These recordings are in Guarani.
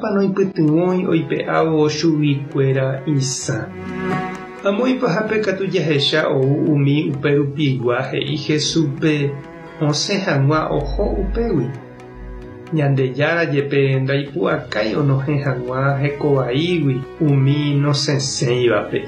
Mba'eichápa noipytyvõi oipe'ávo chuguikuéra isã. Amo ipahápe katu jahecha ou umi uperupigua he'i Jesúspe osẽ hag̃ua oho upégui. Ñandejára jepe ndaipu'akái onohẽ hag̃ua hekovaígui umi nosẽséivape.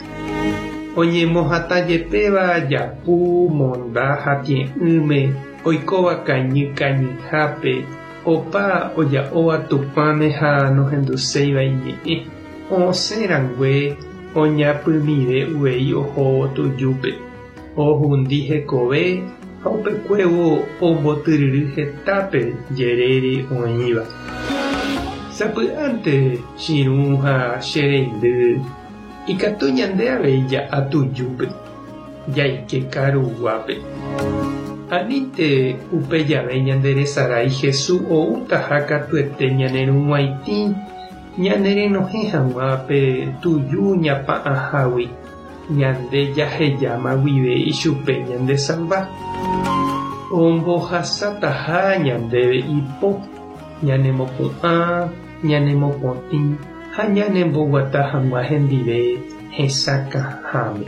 Oñemohatã jepéva japu, monda ha tie'ỹme, oikóva kañy kañyhápe, opa oja'óva Tupãme ha nohenduséiva iñe'ẽ, osẽ rangue oñapymive uvei ohóvo tujúpe. Ohundi hekove ha upekuévo ombotyryry hetápe jerére oĩva. Sapy'ánte chirũ ha che reindy, ikatu ñande avei ja'a tujúpe, jaike karuguápe. Anínte upe jave ñanderesarái Jesús oútaha katuete ñane rug̃uaitĩ ñanerenohẽ hag̃ua pe tuju ñapa'ãhágui. Ñande jahejáma guive ichupe ñande salva. Ombohasataha ñandéve ipo, ñanemopu'ã, ñanemopotĩ ha ñanemboguata hag̃ua hendive hesakãháme.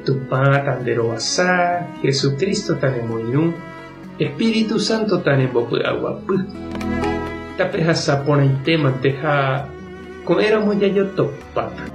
Tupã tanderovasa, Jesucristo tanemoirũ, Espíritu Santo tanembopy'aguapy. Tapehasa porãitémante ha ko'ẽramo jajotopáta.